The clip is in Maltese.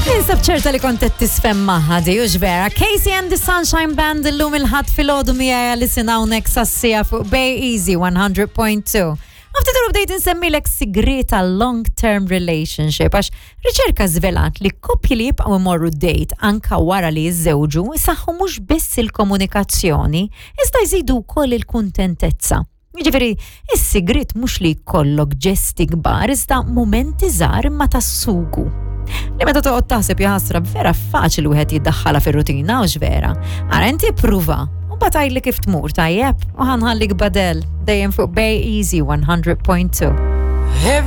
Ninsab ċerta li kont qed tisfem magħha di hux vera. Casey and the Sunshine Band illum il-ħadd filgħodu miegħi li sin hawnhekk sassija fuq Bay Easy 100.2. Għafti turu bdejt insemmilek sigriet għal long term relationship għax riċerka żvelat li koppji li jibqgħu imorru date anka wara li jiżżewġu isaħħu mhux biss il-komunikazzjoni iżda jżidu wkoll il-kuntentezza. Jiġifieri, is-sigriet mhux li jkollok ġesti kbar iżda mumenti żgħar imma tas-sugu. Li meta toqgħod taħseb jaħasra vera faċli wieħed jiddaħħalha fir-rutina u vera. Ara inti pruva u batajli kif tmur tajjeb u ħanħallik badel dejjem fuq Bay Easy 100.2.